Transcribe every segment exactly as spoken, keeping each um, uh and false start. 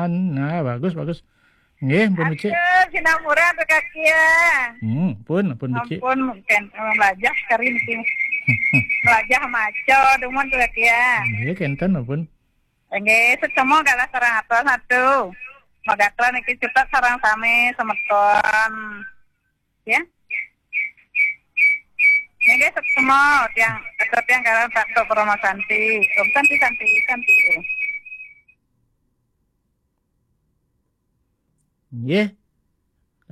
Nah, bagus, bagus. Nggih, pun becik. Aduh, sinamurah tu kaki ya. Hmm, pun, pun becik. Ampun, mungkin melajah karin sih. Melajah maco, dumun tu kaki ya. Nggih, kenten, pun. Nggih, setemu galah sareng atur satu. Magatron niki cutet sareng sami semeton. Ya. Nggih, setemu tiang, atur tiang galah satu Parama Santi. Om Santi, Santi, Santi. Nggih.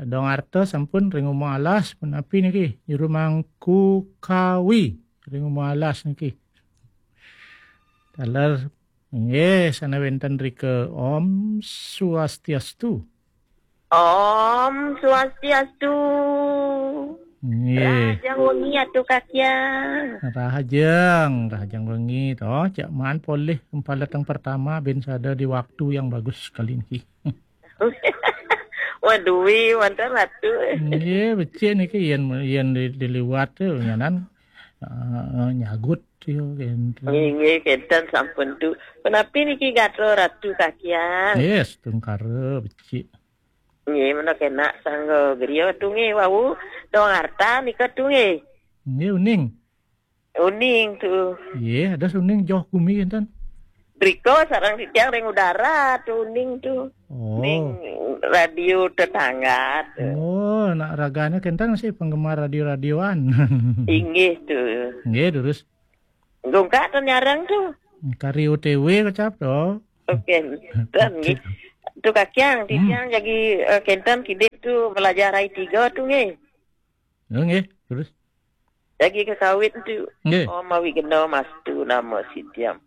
Dong Arta sampun ring Uma Alas, punapi niki? Juru Mangku Kawi ring Uma Alas niki. Taler, nggih, sana wenten rika. Om Swastiastu. Om Swastiastu. Nggih. Rahajeng wengi Atu Kakiang. Rahajeng, rahajeng wengi to. Cak maan polih kempaleteng pertama bin sada di waktu yang bagus kali niki. Waduh, wonten Ratu. Nggih, becik niki yen, yen di, diliwat tu nyanan, eh, nyagut yo kenten. Nggih, nggih, kenten sampun tu. Punapi niki gatra Ratu Kakiang? Nggih, setungkara becik. Nggih, menawi kenak sangga griya tu nggih wau. Dong Arta nika tu nggih. Nggih, uning. Uning tu. Nggih, ada uning joh gumi kenten. Rika sareng titiang ring udara tu uning tu. Oh. Ring radio tetangga tu. Oh, nak ragane kenten masih penggemar radio-radioan. Inggih tu. Nggih, terus. Gungkak tu nyareng tu. Kari O T W kecap tu. Oke, dan nggih. Tu Kakiang, titiang jagi, eh, kenten kidik tu belajar I tiga tu nggih. Oh, nggih, terus. Jagi kekawit tu. Nggih. Om Awighnam Astu Namo Sidham.